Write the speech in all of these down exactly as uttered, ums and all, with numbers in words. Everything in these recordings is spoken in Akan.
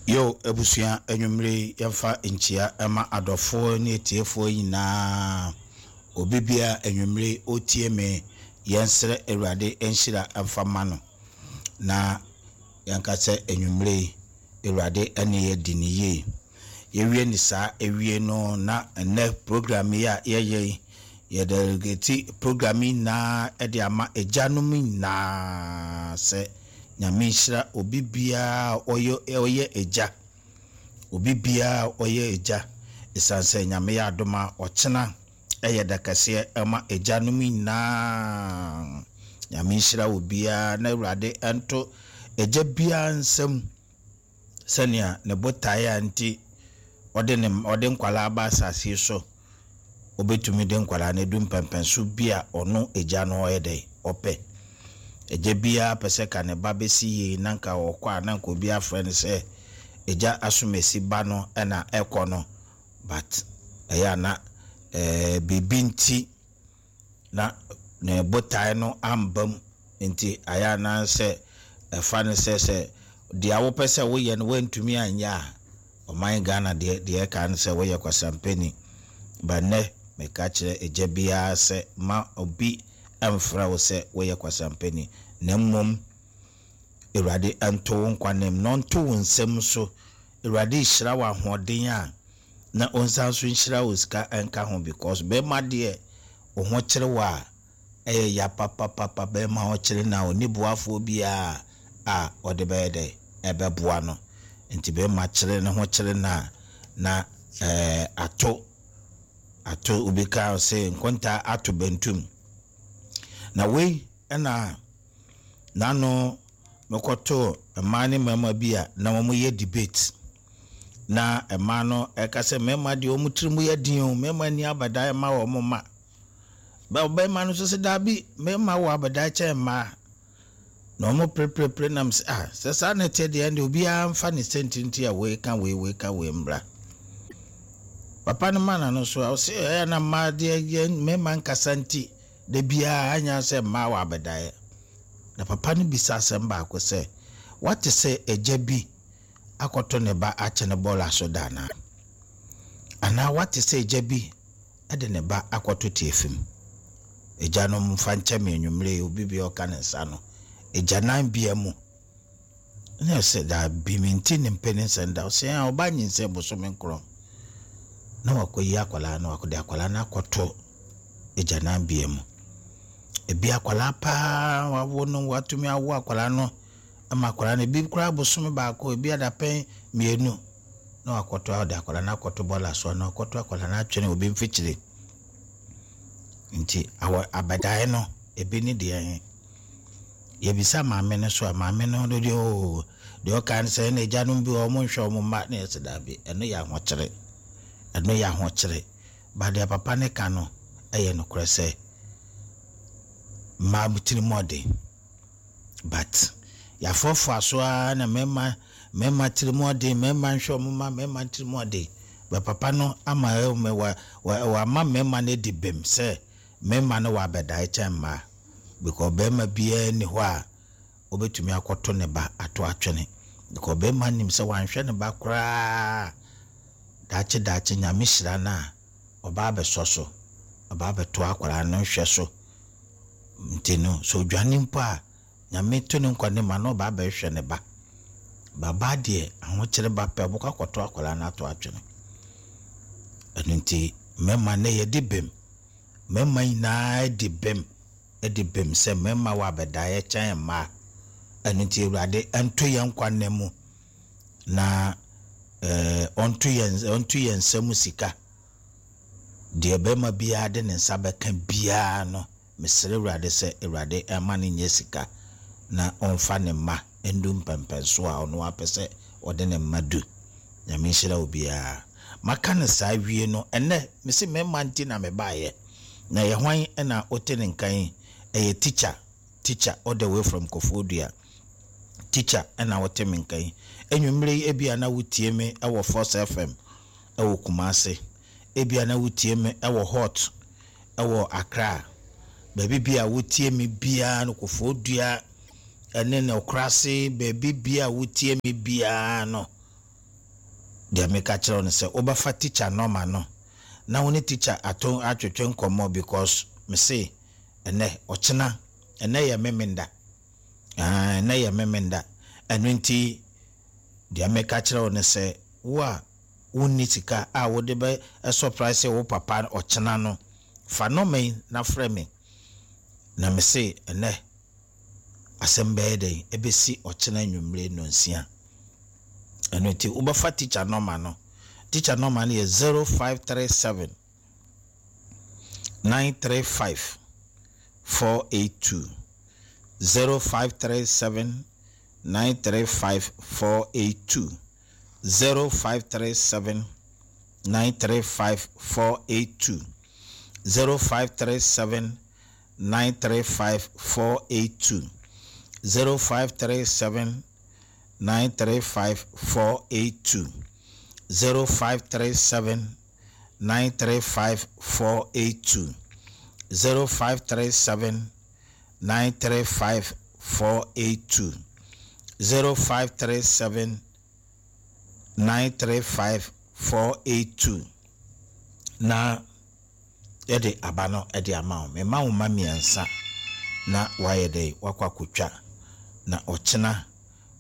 Yo, abusua, anwummere yi yɛmfa nkyia ɛma adɔfoɔ ne atiefoɔ nyinaa. Obi bia anwummere yi ɔtie me, yɛnsrɛ Awurade nhyira mfa ma no. Na yɛnka sɛ anwummere yi Awurade ɛne yɛ di ne yie. Yɛwie ne saa ewie no, na ɛnɛ program yi a yɛyɛ yi, yɛde program yi nyinaa ɛde ama agyanom nyinaa sɛ Nyame nhyira obi biara ɔyɛ ɔyɛ agya. Obi biara ɔyɛ agya. Ɛsiane sɛ Nyame yɛ adom a, ɔkyena ɛyɛ da kɛseɛ ɛma agyanom nyinaa. Nyame nhyira obiara na Awurade ɛnto agya biara nsam sɛnea ne botaeɛ a nti ɔde ne ɔde nkwalaa aba asase yi so, obetumi de nkwalaa no edu mpɛmpɛnso bi a ɔno agya no ɔyɛ dɛ ɔpɛ. Agya biara pɛ sɛ ka ne ba bɛsi yie, na nka ɔkɔ a, na nka obi afrɛ no sɛ agya asomasi ba no ɛna ɛkɔ no, but ɛyɛ ana ɛɛ biribi nti na ne botae no amba mu, nti ayɛ ana sɛ ɛfa no sɛ sɛ deɛ wopɛ sɛ woyɛ no woantumi anyɛ a, ɔman Ghana deɛ deɛ ɛka no sɛ woyɛ kwasampani. Ba nnɛ meka kyerɛ agya biara sɛ ma obi ɛmfrɛ wo sɛ woyɛ kwasampani, na mmom Awurade ɛnto wo nkwa nam na ɔnto wo nsam so. Awurade hyira wo ahoɔden a, na ɔnsan so nhyira wo sika ɛnka ho, because bɛrima deɛ, wo ho kyerɛ wo a, ɛyɛ ya papapapa. Bɛrima ho kyerɛ na ɔni boafoɔ biara a ɔde bɛyɛ dɛ ɛbɛboa no, nti bɛrima kyerɛ ne ho kyerɛ na na ɛɛ ato ato obi ka sɛ nkonta ato bentum. Na wei ɛna n'ano mekɔtoo mmaa ne mmarima bi a na wɔyɛ debate, na mmaa no ɛka sɛ mmarima deɛ, wɔn tiri mu yɛ den o, mmarima ni abadan ma wɔn mma. Bɛrima no nso sɛ daabi, mmarima wɔ abadan kyɛn mmaa, na wɔn perepere nam sɛ, ah, sɛ saa na ɛteɛ deɛ, ɛnde obiara mfa ne sɛntinti a wei ka wei, wei ka wei mbra. Papa no ma n'ano so a, ɔsɛ ɛyɛ na mmaa deɛ, yɛ mmarima nkasa, nti da biara anya sɛ mmaa wɔ abɛdaeɛ. Na papa no bisa asɛm baako sɛ, wate sɛ agya bi akɔto ne ba akyɛ ne bɔɔla so da anaa anaa wate sɛ agya bi de ne ba akɔto tie mu? Agya no mfa nkyɛ me anwummerɛ yi, obi bi a ɔka ne nsa no agyanan bea mu na sɛ daabi, mente ne mpɛ ne nsɛm da. Ɔsɛ a ɔba nyinsɛn bosome nkorɔ na wakɔyi akwadaa no, wakɔde akwadaa no akɔto agyanan bea mu. Ebi akwadaa paa wawo no, watumi awo akwadaa no ama akwadaa no ebi koraa bosome baako, ebi adapɛn mmienu, na wakɔto, ɔde akwadaa no akɔto bɔɔla so na wakɔto akwadaa no atwene obi mfikyire. Nti awɔ abɛdaeɛ no ebi ne deɛ he yɛbisa maame no so a, maame no deɛ oo, deɛ ɔka no sɛ ɛna agyanom bi wɔ ɔmo nhwɛ ɔmo mma, na yɛsɛ daabi, ɛno yɛ ahokyere, ɛno yɛ ahokyere. Ba deɛ papa ne ka no ɛyɛ nokorɛ sɛ mmaa tiri mu ɔden, but yɛafoafoa so ara na mmarima mmarima tiri mu ɔden, mmarima nhwɛ ɔmo mma, mmarima tiri mu ɔden. Bɛ papa no ama ɛwɔ wa wa wama mmarima no adi bɛm sɛ mmarima no wɔ abɛdae kyɛn mmaa, because barima biara ni hɔ a obetumi akɔto ne ba ato atwene, because barima nim sɛ wanhwɛ ne ba koraa, daakye daakye Nyame hyira no a, ɔba abɛsɔ so, ɔba abɛto akwadaa no nhwɛ so. Nti no sɛ odwane mpo a, Nyame to ne nkwa ne ma na ɔba abɛhwɛ ne ba. Baba deɛ, ahokyere ba pɛ, ɔbɛkɔ akɔto akwadaa no ato atwene. Ɛno nti mmarima ne yɛde bɛm, mmarima nyinaa di bɛm, di bɛm sɛ mmarima wɔ abɛdaeɛ kyɛn mmaa. Ɛno nti Awurade ɛnto yɛn nkwa nna mu na ɛɛ ɔnto yɛn ɔnto yɛn nsam sika. Deɛ bɛrima biara de ne nsa bɛka biara no, mesrɛ Awurade sɛ Awurade ɛma no nyɛ sika na ɔmfa ne mma ndu mpɛmpɛnso a ɔno apɛ sɛ ɔde ne mma du. Nyame nhyira obiara. Maka no saa wie no, ɛnɛ mese mmarima nti na mebaeɛ. Na yɛ hwan ɛna wote ne nkan? Ɛyɛ teacher, teacher all the way from Koforidua. Teacher ɛna wote me nkan enwummerɛ yi. Ebia na wotie me ɛwɔ Force F M ɛwɔ Kumase, ebia na wotie me ɛwɔ Hot ɛwɔ Accra, baabi bi a wotie me biara no, Koforidua ɛne ne Ɔkorase, baabi bi a wotie me biara no. Deɛ meka kyerɛ wo no sɛ wobɛfa teacher nɔma no na wo ne teacher ato atwetwe nkɔmmɔ, because mese ɛnɛ ɔkyena, ɛnɛ yɛ Memenda. Ɛnɛ yɛ Memenda. Ɛno nti deɛ meka kyerɛ wo no sɛ wo a wonni sika a wode bɛ surprise wo papa ɔkyena no, fa nɔma yi na frɛ me. Na mese ɛnɛ asɛm bɛyɛ dɛn ɛbɛsi ɔkyena anwummere nnɔnsia. Ɛno nti wobɛfa teacher nɔma no. Teacher nɔma no yɛ zero five three seven nine three five four eight two. zero five three seven nine three five four eight two. zero five three seven nine three five four eight two. zero five three seven nine three five four eight two. zero five three seven nine three five four eight two. zero five three seven nine three five four eight two. zero five three seven nine three five four eight two. zero five three seven nine three five four eight two. Na yɛde aba no de ama wo. Mema wo ma mmiɛnsa na wayɛ dɛ wakɔ akotwa na ɔkyena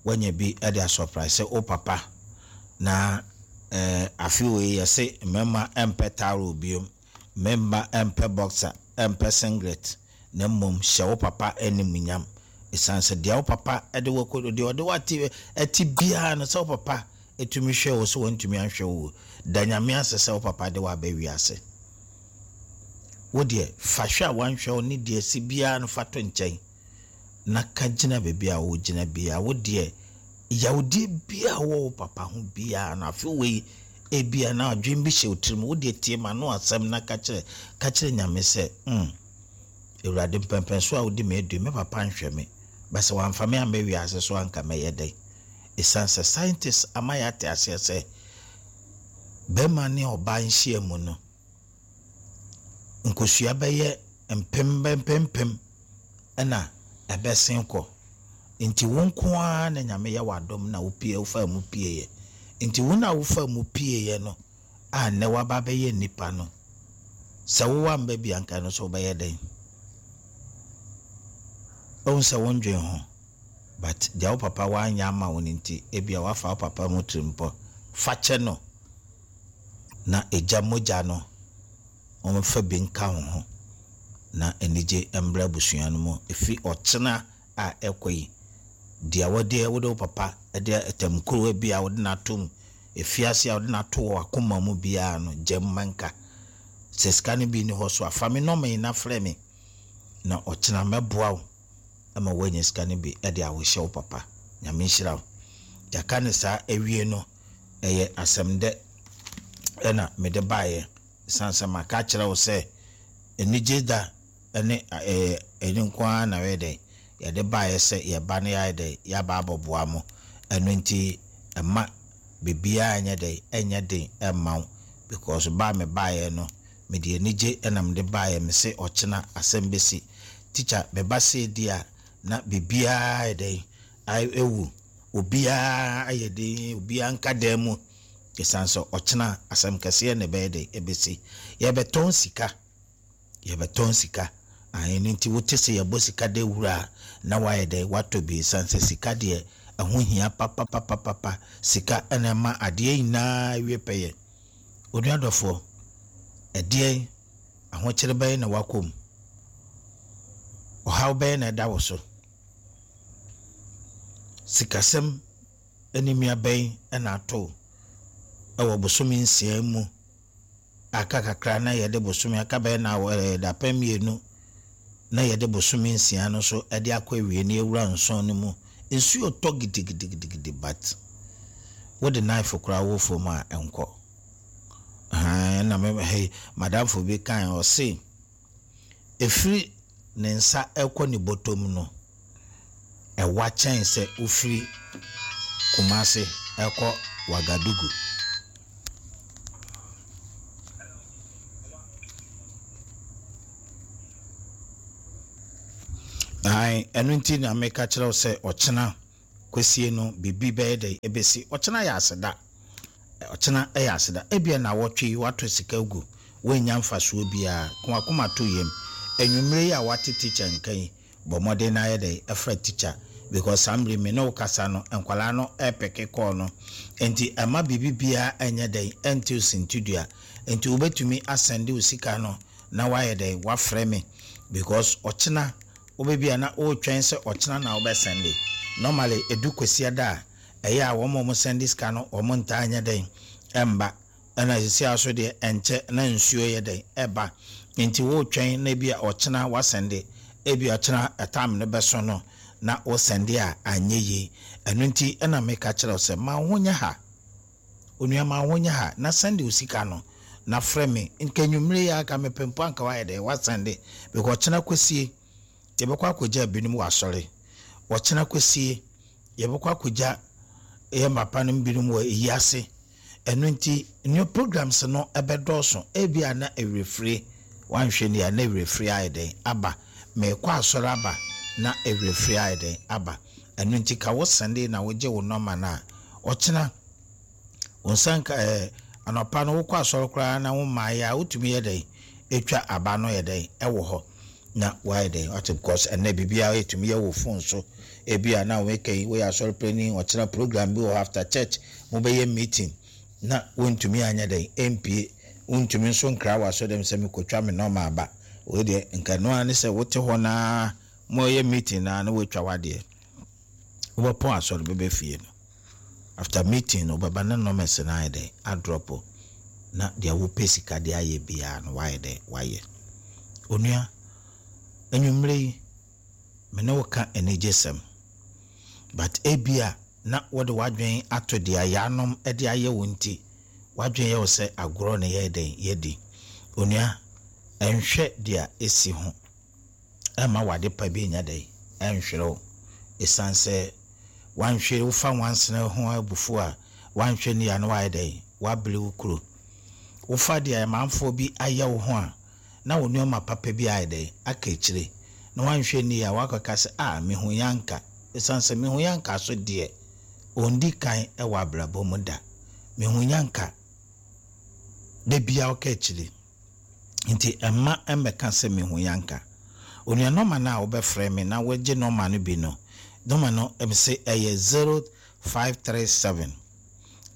wanya bi de asurprise wo papa. Na eh, afe wei yɛse mmarima mpɛ towel biom, mmarima mpɛ boxer, mpɛ singlet, na mmom hyɛ wo papa animuonyam. Ɛsiane sɛ deɛ wo papa de wo kɔ, deɛ ɔde wo ate ɛte biara no, sɛ wo papa ɛtumi hwɛ wo, sɛ wɔntumi anhwɛ wo, da Nyame ase sɛ wo papa de wo aba wiase. Wo deɛ fa hwɛ a wanhwɛ wo ne deɛ si biara no fa to nkyɛn na ka gyina baabi a wogyina biara. Wo deɛ yawdeɛ biara wɔ wo papa ho biara no, afe wei ebia na adwene bi hyɛ wo tirim, wo deɛ tie ma no asɛm na ka kyerɛ, ka kyerɛ Nyame sɛ, mm, Awurade mpɛmpɛnso a wode me adu, me papa nhwɛ me, bɛsɛ wamfa me amma wiase so anka mɛyɛ dɛn? Ɛsiane sɛ scientists ama yɛate aseɛ sɛ bɛrima ne ɔbaa nhyia mu no, nkosua bɛyɛ mpem mpempem ɛna ɛbɛsen kɔ. Nti wo nko ara na Nyame yɛ w'adom na wopie, wofa mu pieeɛ. Nti wo na wofa mu pieeɛ no a nnɛ woaba bɛyɛ nnipa no, sɛ wowɔ amba bi anka no so wobɛyɛ dɛn? Wohu sɛ wondwen ho, but deɛ wo papa wanyɛ ama wo no nti, ebia wafa wo papa mu tirimpɔ. Fa kyɛ no na egya mogya no wɔmfa bi nka wo ho na anigye mmra abusua no mu. Ɛfiri ɔkyena a ɛkɔ yi, deɛ wɔde wode wo papa de atamkurowa bi a wode no ato mu, efiase a wode no ato wɔ akoma mu biara no, gya mu ma nka. Sɛ sika no bi ni hɔ so a, fa me nɔma yi na frɛ me na ɔkyena mɛboa wo ama woanya sika no bi de awohyɛ wo papa. Nyame nhyira wo. Yɛaka ne saa awie no, ɛyɛ asɛm dɛ ɛna mede baeɛ. Ɛsiane sɛ maka kyerɛ wo sɛ anigye da ne ɛɛ ɛne nko ara na ɛyɛ dɛ yɛde baeɛ sɛ yɛba no yɛayɛ dɛ yɛaba abɔboa mo. Ɛno nti ɛma biribiara nyɛ dɛ ɛnyɛ den ɛmma wo, because ba me baeɛ no mede anigye ɛna mede baeɛ. Me se ɔkyena asɛm bɛsi. Teacher meba sei di a na biribiara yɛ dɛ ɛwu, obiara ayɛ den, obiara nka dan mu. Ɛsiane sɛ ɔkyena asɛm kɛseɛ na ɛbɛyɛ dɛ ɛbɛsi. Yɛbɛtɔn sika, yɛbɛtɔn sika. Ɛno nti wote sɛ yɛbɔ sika de wura a na wayɛ dɛ watɔ bi. Ɛsiane sɛ sika deɛ ɛho hia papapapapa. Sika ɛna ɛma adeɛ nyinaa wie pɛyɛ. Onua dɔfoɔ, ɛdeɛn ahokyere bɛyɛ na wakɔ mu? Ɔhaw bɛyɛ na ɛda wo so? Sikasɛm animia bɛn ɛna ato ɛwɔ bosome nsia mu? Aka kakra na yɛde bosome aka bɛyɛ na ɛɛ dapɛn mmienu na yɛde bosome nsia no so ɛde akɔ awie na ewura nson no mu. Nsuo tɔ gidigidigidi, but wode knife koraa wɔ fam a ɛnkɔ. Ɛn na me hey madamfo bi kan ɔse efiri ne nsa ɛkɔ ne bɔtɔm no ɛwa kyɛn sɛ ofiri Kumase ɛkɔ Wagadugu. Ae, ɛno nti na meka kyerɛ wo sɛ ɔkyena kwasie no biribi bɛyɛ dɛ ɛbɛsi. Ɔkyena yɛ aseda. Ɔkyena ɛyɛ aseda. Ebia na wɔtwe yi wato sika gu, woanya mfasoɔ biara. Ko akoma to yam. Anwummerɛ yi a wate teacher nka yi, bɔ mmɔden na ayɛ dɛ ɛfrɛ teacher, because saa mmere mi ne wo kasa no, nkwalaa no ɛpɛke kɔɔ no, nti ɛma biribi biara ɛnyɛ dɛn ɛnte sintidua. Nti wobɛtumi asɛnde wo sika no na wayɛ dɛn wafrɛ me, because ɔkyena wobɛbi a na wotwɛn sɛ ɔkyena na wobɛsɛnde. Normally edu Kwasiada a, ɛyɛ a wɔn a wɔn sɛnde sika no, wɔn ntaa nyɛ dɛn ɛmba. Ɛna sisi aso deɛ, ɛnkyɛ na nsuo yɛ dɛn ɛba, nti wotwɛn na ebi a ɔkyena wasɛnde, ebi ɔkyena ɛtam no bɛso no na wosɛnde a, anyɛ yie. Ɛno nti ɛna meka kyerɛ wo sɛ ma wo ho nyɛ ha, onua, ma wo ho nyɛ ha na sɛnde wo sika no na frɛ me. Nka nwummere yi aka mepɛ mpo anka wayɛ dɛn wasɛnde, because ɔkyena kɔsie yɛbɛkɔ akɔgya binom wɔ asɔre. Ɔkyena kɔsie yɛbɛkɔ akɔgya yɛ mapa no binom wɔ eyi ase. Ɛno nti new programs no ɛbɛdɔɔso. Ebi a na ewerɛfire wanhwɛ ni a, na ewerɛfire ayɛ dɛn aba. Mɛkɔ asɔre aba na ewerɛfire ayɛ dɛn aba. Ɛno nti ka wo sɛnde na wogye wo nɔma no a, ɔkyena wo nsa nka ɛɛ anɔpa no wokɔ asɔre koraa na wo mmaayɛ a, wotumi yɛ dɛn etwa aba no yɛ dɛn ɛwɔ hɔ na wayɛ dɛn wate, because ɛnɛ biribiara yɛtumi yɛ wɔ phone so. Ebi a na wɔka yi, woyɛ asɔre panyin, ɔkyena program bi wɔ hɔ after church, mobɛyɛ meeting na wontumi anyɛ dɛn mpie, wontumi nso nkra wɔ asɔre dɛm sɛ mekɔtwa me nɔɔma aba. Wei deɛ, nka no ara ne sɛ wote hɔ naa moyɛ meeting naa na woatwa w'adeɛ. Wobɛpɔn asɔre bɛbɛ fie no, after meeting no wobɛba na nɔɔma no ayɛ dɛn adrɔpo, na deɛ wopɛ sika de ayɛ biara no, wayɛ dɛn wayɛ. Onua, anwummerɛ yi me ne wo ka anigye sɛm, but ebia na wɔde w'adwene ato deɛ yanom de ayɛ wo, nti w'adwene yɛ wo sɛ agorɔ ne yɛ dɛn yɛdi. Onua, ɛnhwɛ deɛ esi ho ɛma wade pa bi nya dɛn ɛnhwere wo, ɛsiane sɛ wanhwɛ wofa wansene ho abufuo a, wanhwɛ ni a na wayɛ dɛn wabere wo kuro. Wofa deɛ amanfoɔ bi ayɛ wo ho a, na wo nneɛma papa bi ayɛ dɛn aka akyire, na wanhwɛ ni a wakɔka sɛ a mehu yanka, ɛsiane sɛ mehu yanka so deɛ ɔndi kan ɛwɔ abrabɔ mu da. Mehu yanka da bia ɔka akyire, nti ɛma ɛmmɛka sɛ mehu yanka. Onua, nɔma no a wobɛfrɛ me na wogye nɔma no bi no, nɔma no ɛm sɛ ɛyɛ zero five three seven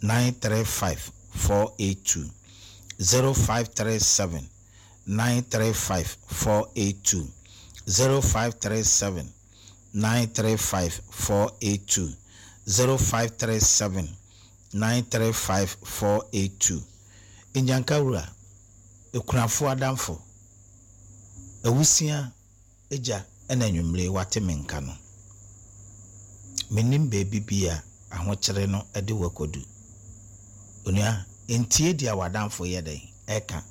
nine three five four eight two, zero five three seven nine three five four eight two, zero five three seven nine three five four eight two, zero five three seven nine three five four eight two. Nyanka wura, ekunafoɔ adamfo, awusia agya, ɛna anwummere wate me nka no, menim baabi bi a ahokyere no de wakɔdu. Onua, ntie deɛ w'adamfo yɛ dɛn ɛka,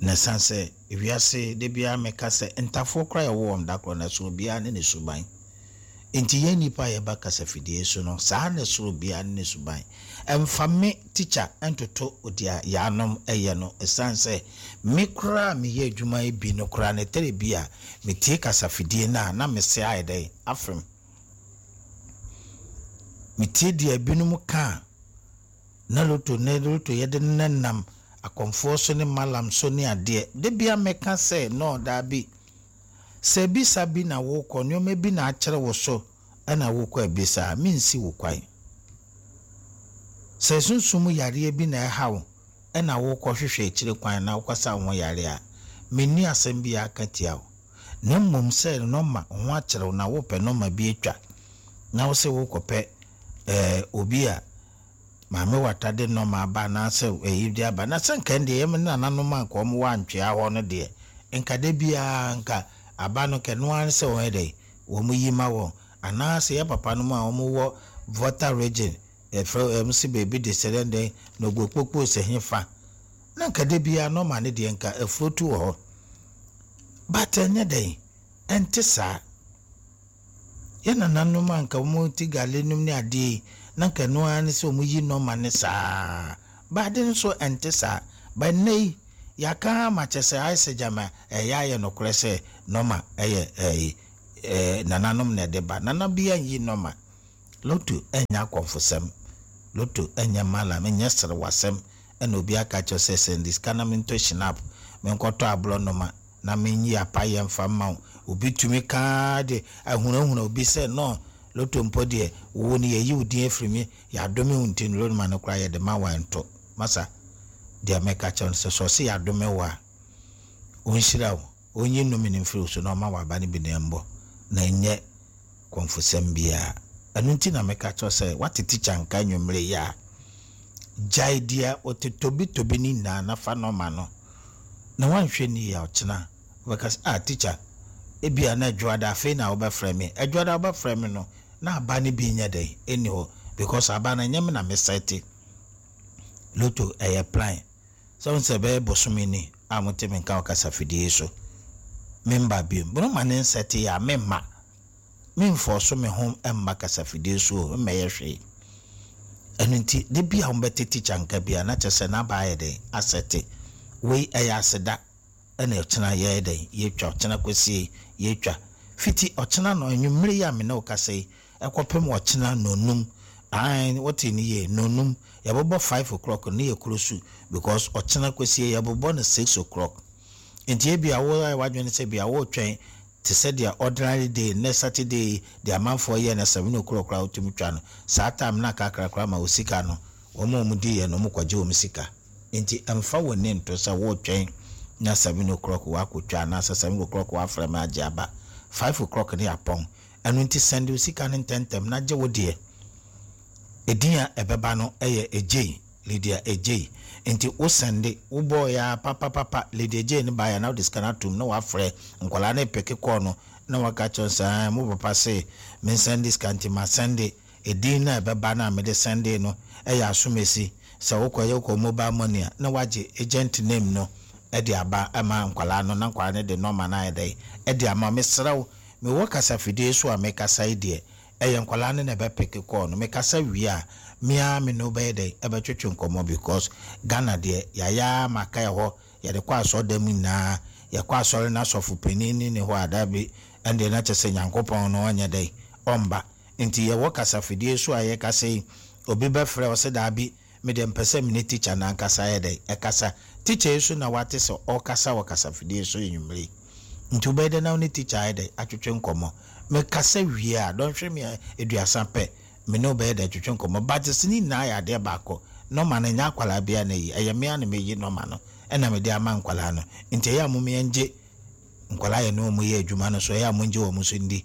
na ɛsiane sɛ ewiase de biara meka sɛ ntafoɔ koraa yɛwɔ wɔn da korɔ na so obiara ne ne suban. Nti yɛn nipa a yɛba kasafidie so no, saa na soro biara ne ne suban. Ɛmfa me tikya ntoto deɛ yɛanom ɛyɛ no, ɛsiane sɛ me koraa meyɛ adwuma yi bi no koraa ne tɛrɛ bi a metie kasafidie no a, na mese ayɛ dɛn afem. Metie deɛ binom ka a, na loto ne loto yɛde nenam akɔmfoɔ so ne malam so ne adeɛ de bia mɛka sɛ no daabi, sɛ bisa bi na wokɔ, nneɛma bi na akyerɛ wo so ɛna wokɔ abisa a, mensi wo kwan. Sɛ sunsum yareɛ bi na ɛha wo ɛna wokɔ hwehwɛ akyire kwan na wokɔsa wo ho yare a, menni asɛm bi aka tia wo. Na mmom sɛ nɔma ho akyerɛ wo na wopɛ nɔma bi atwa na wo sɛ wokɔpɛ ɛɛ obi a maame wata de nɔma aba anaasɛ ɛyi de aba, na sɛ nka deɛ yɛm nananom a nka wɔn wɔ antwea hɔ no deɛ, nka da biara nka aba no kɛ noa sɛ wɔn yɛ dɛ wɔn yi ma wɔn, anaasɛ yɛ papa no mu a wɔn wɔ Volta Region, ɛfrɛ ɛm si beebi de sɛ dɛn na ogbokpokpo sɛ hefa na nka da biara nɔma no deɛ nka afuo tu wɔ hɔ, but ɛnyɛ dɛn ɛnte saa. Yɛ nananom a nka wɔn ti gale nom ne adeɛ yi, na nka noa ne sɛ wɔn yi nɔma ne saa baade nso ɛnte saa. But nnɛ yi yɛaka ama kyɛ sɛ ayɛ sɛ gyama ɛyɛ ayɛ nokorɛ sɛ nɔma ɛyɛ ɛyi ɛɛ nananom na ɛde ba. Nana bi anyi nɔma loto, ɛnyɛ akɔmfosɛm. Lotto ɛnyɛ malam, ɛnyɛ serewasɛm ɛna obi aka kyerɛ sɛ sɛnde sika na mentɔ Schnapp, menkɔtɔ aborɔnoma na menyi apayɛ mfa mma wo. Obi tumi kaa de ahunahuna obi sɛ no lotto mpo deɛ, wo no yɛyi wo din afiri mi, yɛadome wo, nti no lotto no koraa yɛde ma wo ɛnto. Masa, deɛ mɛka kyerɛ no sɛ sɛ ɔse yɛadome wo a, ɔnhyira wo, ɔnyi nnome no mfiri wo so na ɔma waba no bi na ɛmbɔ na ɛnyɛ kɔmfosɛm biara. Ɛno nti na meka kyerɛ sɛ wate tikya nka nnwummerɛ yi a, gyae deɛ ɔte tobitobi no nyinaa na fa nɔma no, na woanhwɛ ni a, ɔkyena wobɛka sɛ, "Ah, tikya, ebia na Adwoada afei na wobɛfrɛ me." Adwoada wobɛfrɛ me no na aba no bi nyɛ dɛn ɛnni hɔ, because aba no ɛnyɛ me na mesɛte. Lotto ɛyɛ plan sɛ wo sɛ ɛbɛyɛ bosome ni a mote me nka wɔ kasafidie so, memba biom bono ma ne nsɛte yɛ a, memma memfɔ so me ho mma kasafidie so o, mmɛyɛ hwee. Ɛno nti de bi a wobɛte tikya nka bi a, na kyerɛ sɛ n'aba ayɛ dɛn asɛte. Wei ɛyɛ aseda ɛna ɔkyena yɛyɛ dɛn yɛtwa, ɔkyena kɔsie yɛtwa fiti ɔkyena no anwummere yi a me ne wo kasa yi ɛkɔpem ɔkyena nonum. Ae, wote ne yie, nonum yɛbɛbɔ five o'clock ne yɛ kuro su, because ɔkyena kɔsie yɛbɛbɔ no six o'clock. Nti ebi a wo ayɛ w'adwene sɛ bi a wotwɛn te sɛ deɛ ordinary day, nnɛ Saturday deɛ amanfoɔ yɛ no seven o'clock koraa wotumi twa no saa time na kakrakra ma wo sika no, wɔn a wɔn di yɛ no, wɔn kɔgye wɔn sika. Nti ɛmfa wɔn ne nto sɛ wotwɛn na seven o'clock wakɔtwa anaasɛ seven o'clock wafrɛ me agye aba. Five o'clock ne apɔn. Ɛno nti sɛnde wo sika no ntɛntɛm na gye wo deɛ. Edin a ɛbɛba no yɛ Egyei, Lydia Egyei. Nti wo sɛnde wobɔɔ ya papapapa, Lydia Egyei no baeɛ na wode sika no atom na wafrɛ nkwadaa no peke kɔɔ no na waka kyerɛ sɛ mo papa se mensɛnde sika, nti ma sɛnde. Edin no a ɛbɛba no a mede sɛnde no ɛyɛ Asomesi. Sɛ wokɔyɛ wokɔ mobile money a, na wagye agent name no ɛde aba ɛma nkwadaa no na nkwadaa no de nɔɔma no ayɛ dɛ ɛde ama. Mesrɛ wo, mewɔ kasafidie so a mekasa yi deɛ, ɛyɛ nkwadaa no na ɛbɛpeke kɔɔ no. Mekasa wie a, mea me no bɛyɛ dɛ ɛbɛtwetwe nkɔmmɔ, because Ghana deɛ yɛayɛ maka hɔ, yɛde kɔ asɔre mu nyinaa, yɛkɔ asɔre no asɔfo panin ne ne hɔ a, dabi, ɛndeɛ na kyerɛ sɛ Nyankopɔn no ɔnyɛ dɛ ɔmba. Nti yɛwɔ kasafidie so a yɛkasa yi, obi bɛfrɛ ɔsɛ daabi, mede mpɛ sɛ mene tikya no ankasa yɛ dɛ ɛkasa. Tikya yi so na wate sɛ ɔkasa wɔ kasafidie so anwummere yi, nti wobɛyɛ dɛ na wo ne tikya ayɛ dɛ atwetwe nkɔmmɔ. Mekasa wie a, dɔnhwere me aduasa pɛ, me ne wobɛyɛ dɛ atwetwe nkɔmmɔ. But sɛ ne nyinaa yɛ adeɛ baako, nɔma no nyɛ akwalaa bia na yi, ɛyɛ mmea na meyi nɔma no ɛna mede ama nkwalaa no. Nti ɛyɛ a mom yɛngye nkwalaa yɛ ne wɔn yɛ adwuma no so, ɛyɛ a mongye wɔn so ndi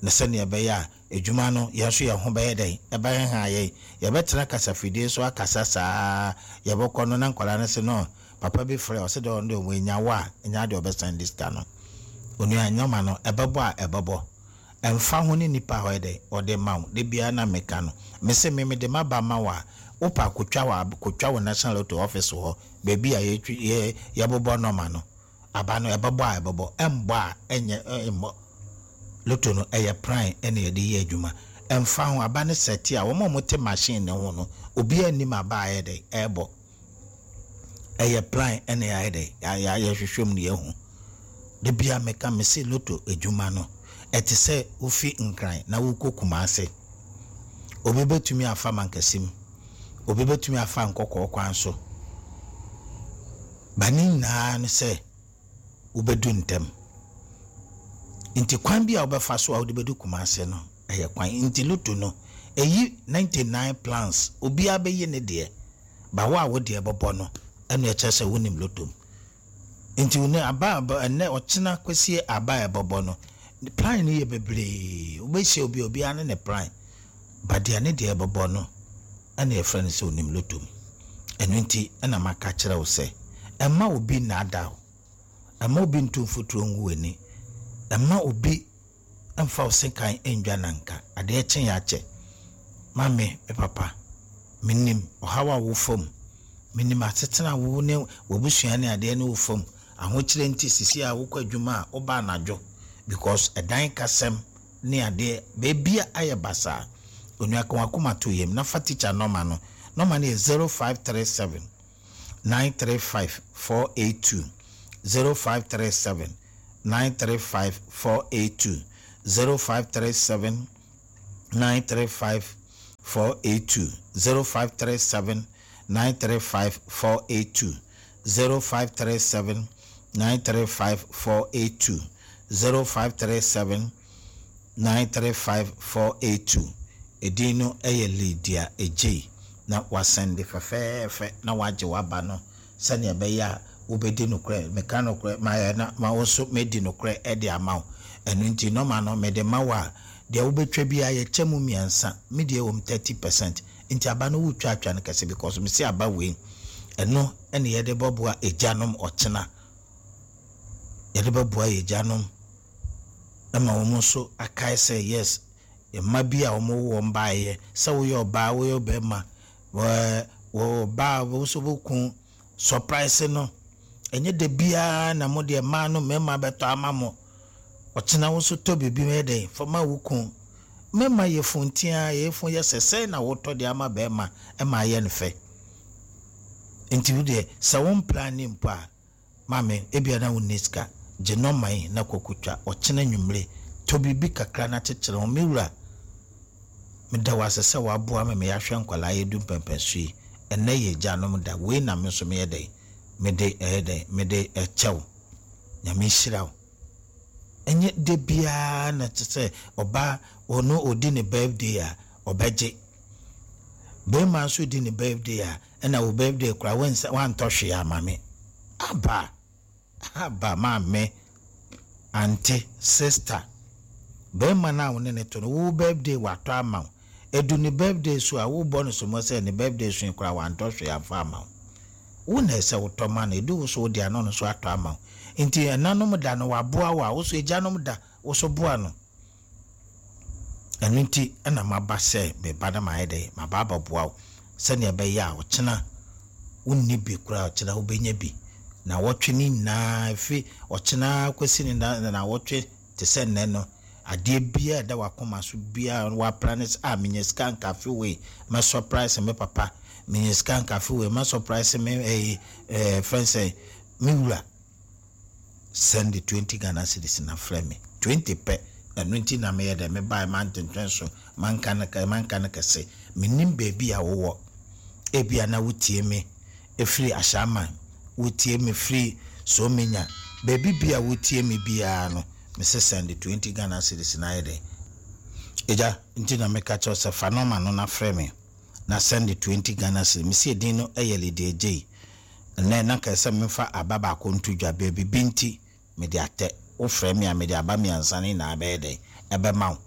na sɛnea ɛbɛyɛ a adwuma no yɛn nso yɛn ho bɛyɛ dɛn ɛbɛheha yɛn. Yɛbɛtena kasafidie so akasa saa, yɛbɛkɔ no na nkwalaa no sɛ no papa bi frɛ ɔsɛ dɛ ɔno deɛ wɔanya wo a ɛnya deɛ ɔbɛsan de sika no. Onua, nyɔma no ɛbɛbɔ a ɛbɛbɔ, ɛmfa ho ne nipa a ɔyɛ dɛ ɔde ma wo. De biara na meka no, mese me mede maba ma wo a, wopɛ akotwa wɔ akotwa wɔ National Lotto office hɔ, baabi a yɛtwi yɛ yɛbobɔ nɔma no. Aba no ɛbɛbɔ a ɛbɛbɔ, ɛmbɔ a ɛnyɛ ɛmbɔ. Lotto no ɛyɛ plan ɛna yɛde yɛ adwuma. Ɛmfa ho aba no sɛte a, wɔn a wɔte machine ne ho no, obiara anim aba a ɛyɛ dɛ ɛɛbɔ. Ɛyɛ plan ɛna yɛayɛ dɛ yɛhwehwɛ mu no yɛhu. De bia meka, mese lotto adwuma no ɛte sɛ wofi Nkran na wokɔ Kumase. Obi bɛtumi afa Mankasim, obi bɛtumi afa Nkɔkɔɔ kwan so ba, ne nyinaa no sɛ wobɛdu ntɛm. Nti kwan bi a wobɛfa so a wode bɛdu Kumase no ɛyɛ kwan. Nti lotto no ɛyi ninety-nine plans, obiara bɛyi ne deɛ ba, wo a wo deɛ bɛbɔ no ɛna ɛkyerɛ sɛ wonim lotto mu. Nti ne aba aba ɛnɛ ɔkyena kɔsie aba a ɛbɛbɔ no, plan no yɛ bebree. Wobɛhyia obi, obiara ne ne plan ba, deɛ ne deɛ ɛbɛbɔ no ɛna yɛfrɛ no sɛ onim lotto mu. Ɛno nti ɛna maka kyerɛ wo sɛ ɛma obi nnaada wo, ɛma obi nto mfuturo ngu w'ani, ɛma obi ɛmfa wo sekan ndwa nanka adeɛ kye yɛ akyɛ. Maame, me papa, menim ɔhaw a wo fam, menim asetena wo ne w'abusua ne adeɛ ne wo fam ahokyerɛ. Nti sisi a wokɔ adwuma a, woba anadwo because ɛdan kasɛm ne adeɛ beebi a ayɛ basaa. Onua, ka wakoma to yam na fa tikya nɔma no. Nɔma no yɛ zero five three seven nine three five four eight two, zero five three seven nine three five four eight two, zero five three seven nine three five four eight two zero five three seven nine three five four eight two zero five three seven nine three five four eight two zero five three seven nine three five four eight two. Edin no yɛ Lydia Egyei na wasɛnde fɛfɛɛfɛ na wagye waba no sɛnea ɛbɛyɛ a wobɛdi nokorɛ. Meka nokorɛ mayɛ na ma wo nso mɛdi nokorɛ de ama wo. Ɛno nti nɔma no mede ma wo a, deɛ wobɛtwa biara yɛkyɛ mu mmiɛnsa. Me deɛ wɔ mu thirty percent. Nti aba no wotwa atwa no kɛse because mesi aba wei ɛno ɛne yɛde bɛboa agyanom ɔkyena. Yɛde bɛboa yɛ agyanom ɛma wɔn nso akae sɛ yes, mma bi a wɔn wɔ wɔn baeɛ sɛ woyɛ ɔbaa, woyɛ ɔbarima, wɔɛ wɔ ɔbaa wo nso wokun surprise no, ɛnyɛ da biara na mo deɛ mmaa no mmarima bɛtɔ ama mo. Ɔkyena wo nso tɔ biribi yɛ dɛn fama wo kun. Mmarima yɛ funtia, yɛ fun yɛ sɛ sɛn na wotɔ de ama barima ɛma ayɛ no fɛ. Nti wo deɛ sɛ wo mplan ne mpo a, maame ebia na wo nni sika, gye nɔma yi na kɔkɔtwa. Ɔkyena nwummere tɔ biribi kakra na kyekyere ho. Me wura, meda wo ase sɛ woaboa me ma yɛahwɛ nkwalaa yɛdu mpɛmpɛnso yi. Ɛnnɛ yɛ agyanom da. Wei na me nso meyɛ dɛn, mede ɛyɛ dɛn, mede ɛkyɛ wo. Nyame nhyira wo. Ɛnyɛ da biara na kyerɛ sɛ ɔbaa ɔno ɔdi ne birthday a ɔbɛgye. Bɛrima nso di ne birthday a ɛna wo birthday koraa wansa wantɔ hwee ama me. Aba aba maame, auntie, sister, bɛrima no a wo ne ne to no, wo birthday watɔ ama wo. Edu ne birthday so a wobɔ no somo sɛ ne birthday so yi koraa wantɔ hwee amfa ama wo. Wo na ɛsɛ wotɔ ma no. Edu wo so wo deɛ no nso atɔ ama wo. Nti ɛnanom da no waboa wo a, wo so agyanom da wo so boa no. Ɛno nti ɛna maba sɛ meba na mayɛ dɛ maba abɛboa wo sɛnea ɛbɛyɛ a ɔkyena wonni bi koraa, ɔkyena wobɛnya bi. Na wɔtwe ne nyinaa ɛfiri ɔkyena kɔsi ne na na wɔtwe te sɛ nnɛ no, adeɛ biara ɛda wakoma so biara wapra ne sɛ a menya sika nka afe wei mɛ surprise me papa, menya sika nka afe wei mɛ surprise me ɛyi ɛɛ fɛn sɛ me wura. Send the twenty Ghana cedis na frɛ me twenty pɛ. Ɛno nti na meyɛ dɛ mebae mantwentwɛn so manka no manka no kɛse. Menim baabi a wowɔ. Ebia na wotie me ɛfiri Ahyɛaman, wotie me firi Somenya, baabi bia wotie me biara no, mese send twenty Ghana cedis na ayɛ dɛ. Agya, nti na meka kyerɛ sɛ fa nɔma no na frɛ me na send twenty Ghana cedis. Mese edin no ɛyɛ Lydia Gyei. Ɛnnɛ na nka sɛ memfa aba baako nto dwa, baabi bi nti mede atɛ. Wofrɛ me a mede aba mmiɛnsa no nyinaa bɛyɛ dɛn ɛbɛma wo.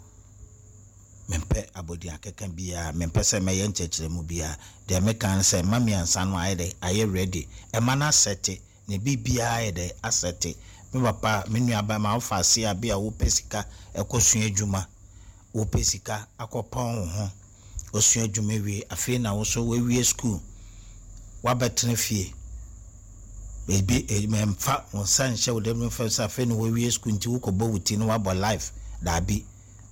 Mempɛ abɔdin akeka biara, mempɛ sɛ mɛyɛ nkyerɛkyerɛmu biara. Deɛ meka ne sɛ mma mmiɛnsa no ayɛ dɛn ayɛ ready. Ɛma no asɛte ne biribiara ayɛ dɛn asɛte. Me papa, me nua bɛrima, wofa ase a bi a wopɛ sika ɛkɔsua adwuma, wopɛ sika akɔpɔn wo ho, osua adwuma wie, afei na wo so woawie school, woabɛtena fie. Ebi mɛmfa wo nsa nhyɛ wo dɛm mfa sɛ afei na woawie school nti wokɔbɔ wo ti na woabɔ life. Daabi,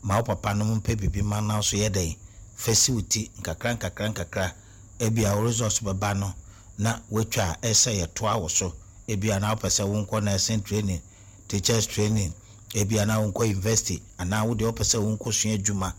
ma wo papa no mpɛ biribi ma na so yɛ dɛn fa si wo ti nkakra nkakra nkakra. Ebia wo results bɛba no na woatwa a ɛsɛ yɛtoa wo so. Ebia na wopɛ sɛ wonkɔ nursing training, teachers training, ebia na wonkɔ university, anaa wo deɛ wopɛ sɛ wonkɔ sua adwuma.